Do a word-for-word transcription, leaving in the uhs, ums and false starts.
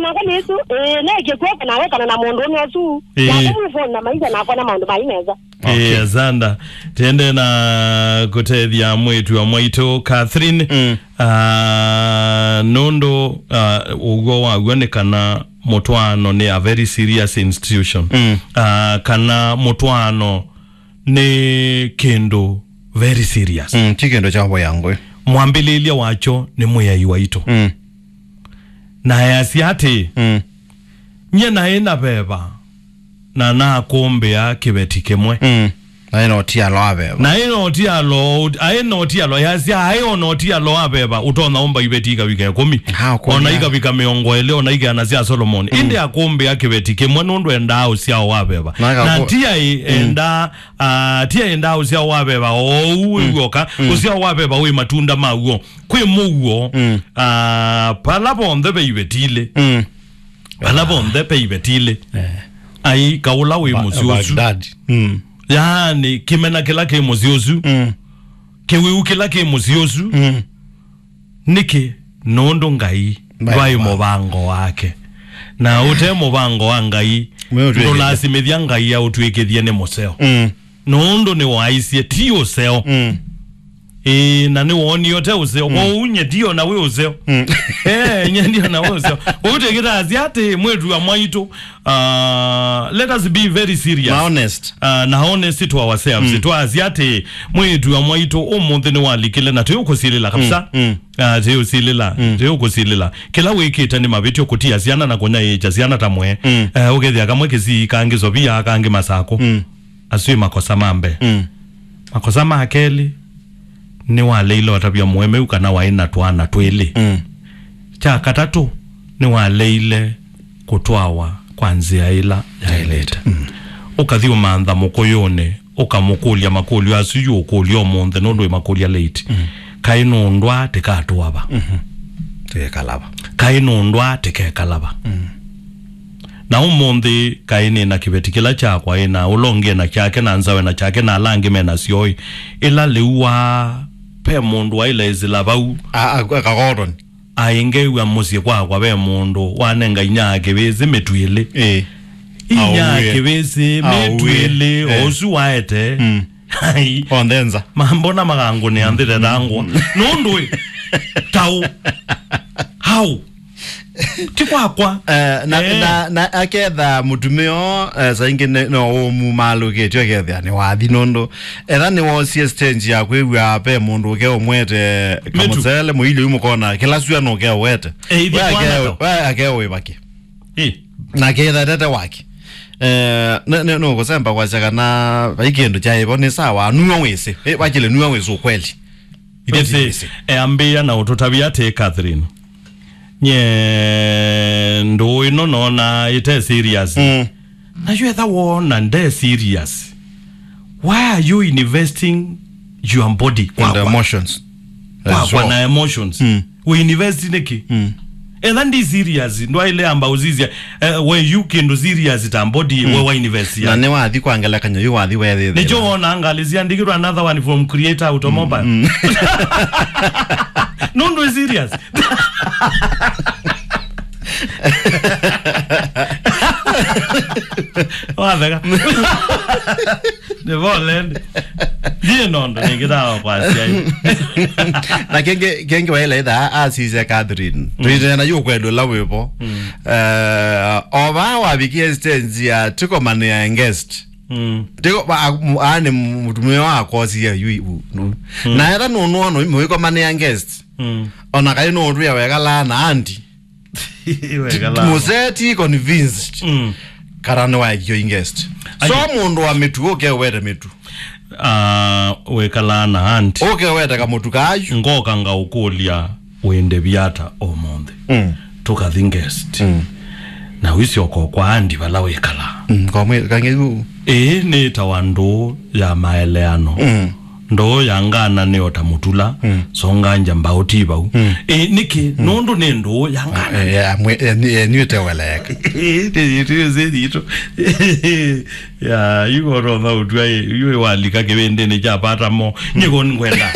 Nakwa nĩsu, ĩĩ, nekie kuoka na wekana na mũndũ ũmwe ũsu. Ĩĩ. Nake move on na maisha nakwa na maũndũ mai mesa. Okay. Ĩĩ, asanda. Tende na kũtethya mwĩĩtu wa mwaitũ Catherine. Mm. Ah, nũndũ, ah, ũw'o waw'o nĩ kana mũtwaano nĩ a very serious institution. Mm. Ah, kana mũtwaano nĩ kĩndũ very serious. Mm, ti kĩndũ kya voya ngũĩ. Mwambĩlĩlya wakyo nĩ Mwĩai waitũ. Mm. Na easya atĩĩ, mm, nyie naĩ na veva, na nakũmbĩa kĩveti kĩmwe. Mm. Naĩ na ũtialo wa veva. Naĩ na ũtialo, aĩ na ũtialo, easya aĩ o na ũtialo wa veva, ũtonya ũmba iveti ikavika ĩkũmi. Ha, ũkũlya. Ona ikavika mĩongo ĩlĩ, ona ikeana sya Solomoni. Mm. Ĩndĩ akũmbĩa kĩveti kĩmwe nũndũ endaa ũsyao wa veva. Na akaku- Na ti aĩ, mm, endaa Ah, ti aendaa ũsyao wa veva oou wĩ w'oka, mm, ũsyao wa veva wĩ matunda maw'o. Kwĩ mũuo, mm, ah, pala vonthe ve iveti ilĩ. Mm. Pala vonthe ve iveti ilĩ. Eh. Ai, kaũla wĩ mũsyĩ ũsu. Baghdad. Mm. Yaani, kĩmena kĩla kĩ mũsyĩ ũsu. Mm. Kĩwĩu kĩla kĩ mũsyĩ ũsu. Mm. Nĩkĩ? Nũndũ Ngai ndwaĩ mũvango wake. Na ũte mũvango wa Ngai, ndũlasimĩthya Ngai aũtw'ĩkĩthye nĩ mũseo. Mm. Nũndũ nĩwaisye ti ũseo. Mm. Ĩĩ, na nĩwoonie ũte ũseo. Mm. Kwoou nye ndio na wĩ ũseo. Mm. Eh, nye ndio na wĩ ũseo. Kwoou twĩkĩtasya atĩ mwĩĩtu wa mwaitũ, uh, let us be very serious. Na honest. Uh, na honest to ourselves. Mm. Twasya atĩ mwĩĩtu wa mwaitũ ũmũnthĩ nĩwalikile na twĩũkũsilĩla kabisa. Mm, mm. Ah, ti ũsilĩla, mm, ti ũkũsilĩla. Kĩla wĩkĩte nĩ mavĩtyo kũtia syana na kũnyaĩĩkya syana ta mwe. Mm. Eh, ũkethĩa kamwe Kisii, kangĩ Sovia, kangĩ Masakũ. Mm. Asu nĩ makosa ma mbee. Mm. Makosa ma kelĩ, nĩwaleile ũtavya mũemeu kana waĩ na twana twĩlĩ. Mm. Kya katatũ, nĩwaleile kũtwawa kwa nzĩa ĩla yaĩlĩte. Mm. Ũkathi ũmantha mũkũyũnĩ, ũkamũkũlya makũlyo asu yu ũkũlya ũmũnthĩ nũndũ wĩmakũlya late. Mm. Kaĩ nũndũ aa tĩkatũava? Mhm. Tĩkekalava. Kaĩ nũndũ aa tĩkekalava? Mm. Na ũmũnthĩ kaĩ nĩ na kĩveti kĩla kyakwa, ĩ na ũla ũngĩ ena kyake, na nzawe na kyake, na ala angĩ mena syoi. Ĩla lĩu wa pe mũndũ waĩle ĩsĩla vau. A, a, akakotoni. Aĩ ngeew'a mũsyĩ kwakwa ve mũndũ wanenga inya ya kĩvĩsĩ mĩtu ĩlĩ. Ĩĩ. Inya ya kĩvĩsĩ, mĩtu ĩlĩ, eh, o ũsu waete. Mm. Ai. Onthe nza. Ma-, mbona makangũnĩa nthĩ tetangwa? Nũndũ ĩ, taũ. Hau. Ti kwakwa. Eh, na, eh, na, na aketha mũtumĩa, eh, saa ingĩ nĩ, no ũmumaalũkĩtye ũkethĩa nĩ wathi nũndũ etha nĩwoosie stage ya kwĩw'a ve mũndũ ũke ũmwete kamũsele mũilyo yu mũkona kĩla sua nũke ũwete. Eh, ithe we ake-, twana ta- we ake wĩvake. Eh. Na ketha tete wake. Eh, nĩ, nĩ, nũkũsemba kwasya kana vai kĩndũ kyaĩvo nĩ sawa, nua wĩsĩ. Eh, wakile nua wĩsĩ ukweli. Ithe ti wĩsĩ. Eambĩĩa na ũtũtavya atĩ, Catherine, nye ndũũ ĩno nona ĩte serious. Mm. Na yu etha wona nde serious, why are you investing your body? In the emotions. Kwakwa na emotions. Mm. We invest nĩkĩ? Mm. Etha ndi serious, ndwaĩle amba ũsisya, eh, we yu kĩndũ serious ta body, mm, we wa invest ya. Na nĩ wathi kwa ngelekany'o, yu wathi wethĩthĩla. Nĩkyo wona ngalĩ syandĩkĩtwe another one from Creator Automobile. Mm, mm. Nũndũ ĩ serious. Watheka. Nĩ pole ndi. Ndiĩ nondũ nĩngĩtawa kwasya. Na kengĩ, kengĩ waĩla itha asisya Catherine. Mm. Tũitena yu kwendũ la wĩvo. Mm. Eh, ova wavikie stage ya tiko manĩa guest. Mm. Tiko, ba, a, mu-, a, nĩ mũtumĩa wa kosia yu, u, nu. Mm. Na etha nũnũono mwĩko manĩa guest. Mm. Ona kaĩ nũũtwĩa wekalaa na andi. Wekala. Mũsee ti convinced. Mm. Kana nĩwaekie ingest. So mũndũ wa mĩtu ũke ũwete mĩtu. Ah, wĩkalaa na auntie. Ũke ũwete kamũtu kayu. Ngoka ngaũkũlya wĩndĩvya ata ũmũnthĩ. Mm. Tũkathi guest. Mm. Na wĩsyoka kwa auntie vala wĩkalaa. Mm, kwa mwĩ-, kang'e yu. Ĩĩ nĩtawa ndũũ ya maeleano. Mm. Ndũũ ya ngana nĩ o ta mũtula, mm, songa nja mbaũ ti vau. Mm. Ĩ, nĩkĩ? Mm. Nũndũ nĩ ndũũ ya ngana. Eh, eh, amwe-, eh, nĩ-, eh, nĩũteweleka. Ĩ, ĩ, ĩ, ĩ, ĩ, ĩ, ĩ, ya, yu ũtonya ũtw'a, ĩ, yu walika kĩvĩndĩnĩ kya pata mo. Mm. Nyiko ngwenda.